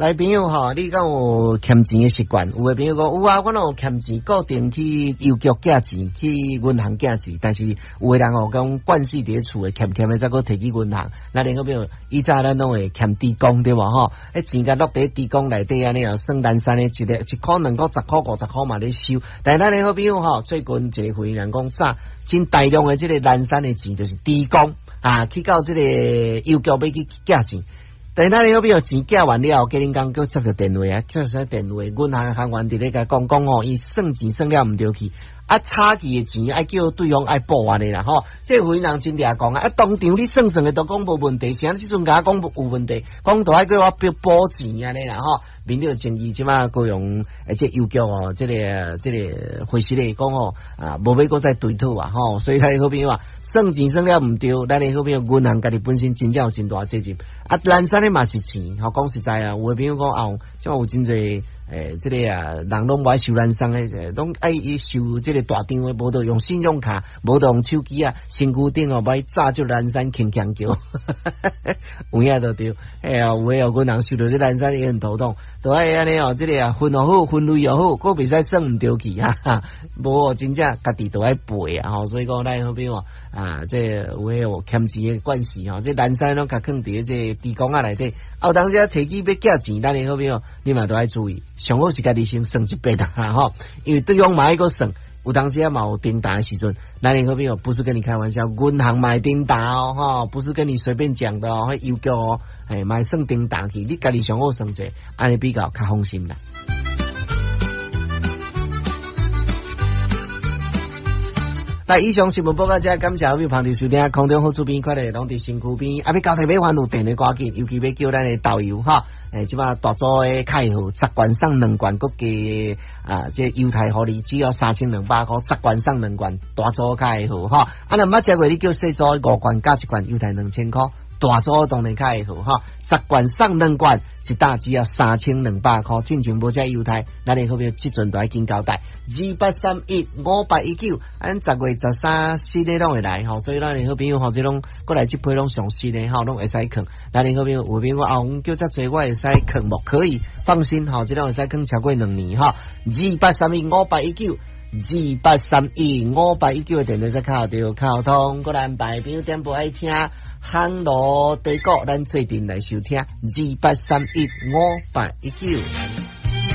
來朋友吼，你敢有儉錢的習慣？有的朋友講有啊，我攏有儉錢，固定去郵局寄錢，去銀行寄錢。但是有的人哦，講慣勢佇咧厝的儉儉的，再閣提去銀行。咱的好朋友以前咱攏會儉豬公對無吼？彼錢共落佇豬公內底按呢哦，算零散的一个一箍、兩箍、十箍、五十箍嘛咧收。但是咱的好朋友吼，最近一個會人講早真大量的這個零散的錢，就是豬公啊，去到這個郵局欲去寄錢。但是咱的好朋友錢寄完了後，隔恁工閣接著電話啊，接著電話，銀行行員佇咧共講講吼，伊算錢算了毋著去，啊差去的錢愛叫對方愛補按呢啦吼。這個人真掠狂啊！啊當場你算算的都講無問題，啥這陣共我講有問題，講都愛叫我補補錢按呢啦吼。面對爭議，這馬高雄欸這郵局哦，這個這個回實來講吼啊，無欲閣再追討啊吼，所以咱的好朋友啊，算錢算了毋著，咱的好朋友銀行家己本身真正有真大責任啊，零散的嘛是錢，吼講實在啊，有的朋友講啊，這馬有真濟欸，這個啊，人攏無愛收零散的，攏愛收這個大張的，無就用信用卡，無就用手機啊，身軀頂哦，無愛紮就零散輕輕叫，有影就對，哎呀，有的哦，銀行收著這零散也很頭痛，都愛按呢哦，這個啊分予好，分類予好，閣袂使算毋著去啊，無哦，真正家己都愛賠啊，吼，所以講咱好朋友啊，這個有的有儉錢的慣勢吼，這零散攏共囥佇這個豬公仔內底，啊，有當時啊提起欲寄錢，咱的好朋友你嘛都愛注意。上好是家己先算一遍啦吼，因為對方嘛愛閣算，有當時啊嘛有叮當的時陣，咱的好朋友不是跟你開玩笑，銀行嘛會叮當哦，吼，不是跟你隨便講的哦，彼郵局哦，嘿，嘛會算叮當去，你家己上好算者，按呢比較較放心啦。來，以上新聞報告這，感謝好朋友捧場收聽，空中好厝邊，快樂攏佇身軀邊。啊，欲交替欲還有電話趕緊，尤其欲叫咱的導遊哈。欸，這馬大組的卡號，十罐送兩罐，閣加啊，這猶太予你只要3200箍，十罐送兩罐，大組卡號哈。啊，若毋捌食過，你叫細組五罐加一罐猶太2000箍。大組當然較會好吼，十罐送兩罐，一打只要3200箍。進前無食猶太，咱的好朋友這陣都愛緊交代。2831-5819，按10月13新的攏會來吼，所以咱的好朋友吼，這攏過來這批攏上新的吼，攏會使囥。咱的好朋友有朋友啊，阮叫遮濟，我會使囥無？可以放心吼，這攏會使囥超過兩年吼。2831-5819，2831-5819的電話再敲著敲通，過來安排朋友點播愛聽。烘爐地鼓，咱做陣來收聽2831-5819。